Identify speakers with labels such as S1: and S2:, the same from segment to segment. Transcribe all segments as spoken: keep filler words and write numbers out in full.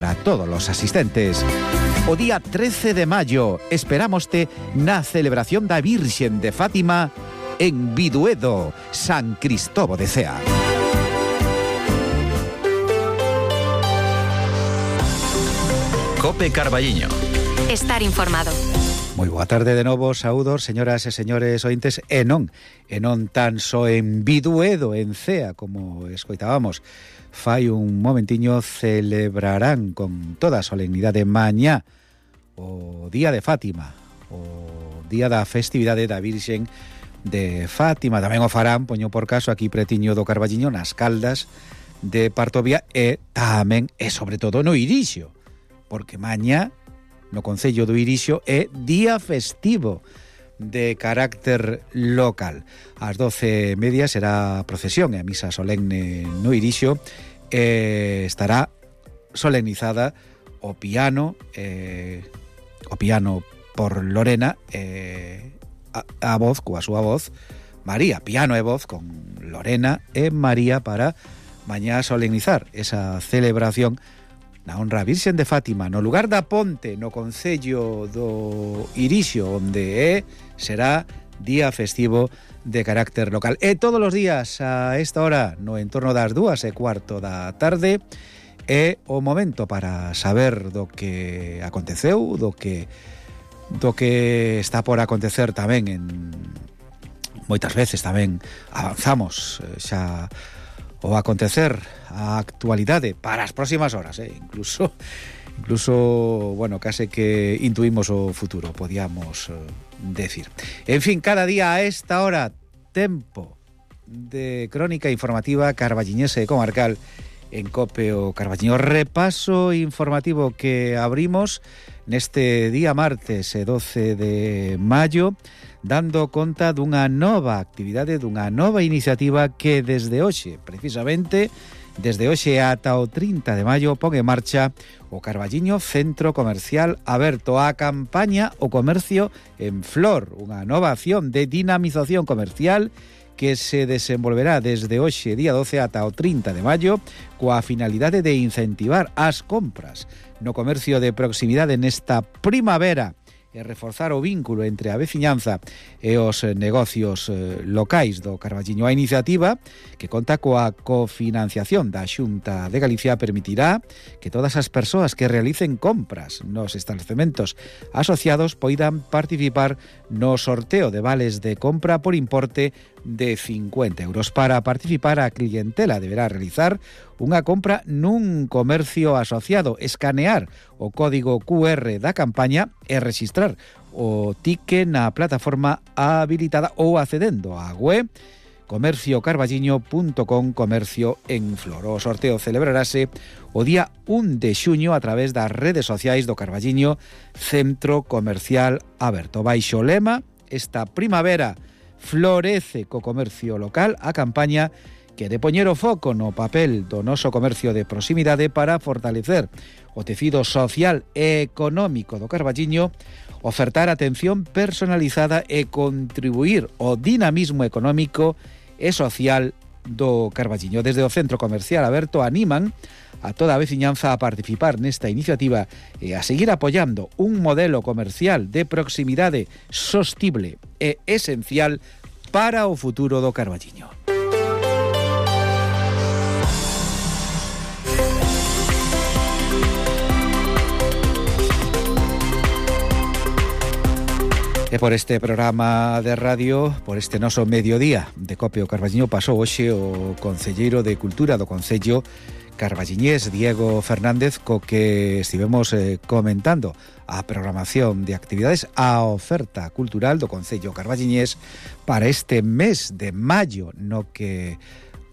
S1: Para todos los asistentes. O día trece de mayo esperámoste na celebración da Virxen de Fátima en Biduedo, San Cristóbal de Cea.
S2: Cope Carballiño.
S3: Estar informado.
S1: Moi boa tarde de novo, saúdos, señoras e señores ointes, e non, e non tan só en Biduedo, en Cea, como escoitábamos. Fai un momentiño celebrarán con toda a solemnidade mañá o Día de Fátima, o Día da Festividade da Virxen de Fátima. Tamén o farán, poño por caso, aquí pretiño do Carballiño, nas Caldas de Partovia e tamén, e sobre todo, no Irixio, porque mañá no Concello do Irixio é día festivo de carácter local. Ás doce e media será a procesión e a misa solemne no Irixio e estará solemnizada o piano eh, o piano por Lorena e a, a voz, coa súa voz María, piano e voz con Lorena e María para mañá solemnizar esa celebración na honra a Virxen de Fátima no lugar da Ponte, no Concello do Irixio, onde é, será día festivo de carácter local. E todos os días a esta hora, no entorno das dúas e cuarto da tarde, é o momento para saber do que aconteceu, do que do que está por acontecer tamén en moitas veces tamén avanzamos xa o acontecer a actualidade para as próximas horas, eh? incluso incluso, bueno, case que intuimos o futuro, podíamos eh, decir. En fin, cada día a esta hora, tempo de crónica informativa carballiñese e comarcal en Cope o Carballiño. Repaso informativo que abrimos neste día martes doce de maio, dando conta dunha nova actividade, dunha nova iniciativa que desde hoxe, precisamente, desde hoxe ata o trinta de maio, pon en marcha o Carballiño Centro Comercial Aberto, a campaña O Comercio en Flor, unha nova acción de dinamización comercial que se desenvolverá desde hoxe, día doce, ata o trinta de maio, coa finalidade de incentivar as compras no comercio de proximidade nesta primavera e reforzar o vínculo entre a veciñanza e os negocios eh, locais do Carballiño. A iniciativa, que conta coa cofinanciación da Xunta de Galicia, permitirá que todas as persoas que realicen compras nos establecementos asociados poidan participar no sorteo de vales de compra por importe de cincuenta euros. Para participar, a clientela deberá realizar unha compra nun comercio asociado, escanear o código cu erre da campaña e registrar o ticket na plataforma habilitada ou accedendo á web comercio carballiño punto com, comercio en Flor. O sorteo celebrarase o día un de xuño a través das redes sociais do Carballiño Centro Comercial Aberto. Baixo o lema, esta primavera florece co comercio local, a campaña que de poñer o foco no papel do noso comercio de proximidade para fortalecer o tecido social e económico do Carballiño, ofertar atención personalizada e contribuir ao dinamismo económico e social do Carballiño. Desde o Centro Comercial Aberto animan a toda a veciñanza a participar nesta iniciativa e a seguir apoiando un modelo comercial de proximidade sostible e esencial para o futuro do Carballiño. E por este programa de radio, por este noso mediodía de Cope o Carballiño, pasou hoxe o concelleiro de Cultura do Concello carballiñés, Diego Fernández, co que estivemos eh, comentando a programación de actividades, a oferta cultural do Concello carballiñés para este mes de maio, no que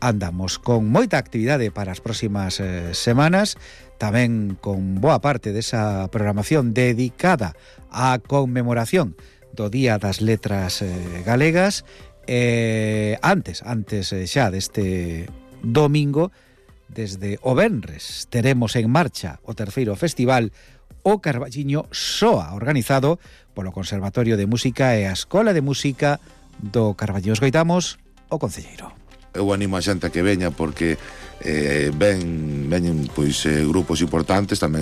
S1: andamos con moita actividade para as próximas eh, semanas, tamén con boa parte desa programación dedicada á conmemoración do Día das Letras eh, Galegas. Eh, antes, antes eh, xa deste domingo, desde o venres, teremos en marcha o terceiro festival O Carballiño Soa, organizado polo Conservatorio de Música e a Escola de Música do Carballiño. Escoitamos o concelleiro.
S4: Eu animo a xente a que veña porque eh, ven, veñen pois, eh, grupos importantes, tamén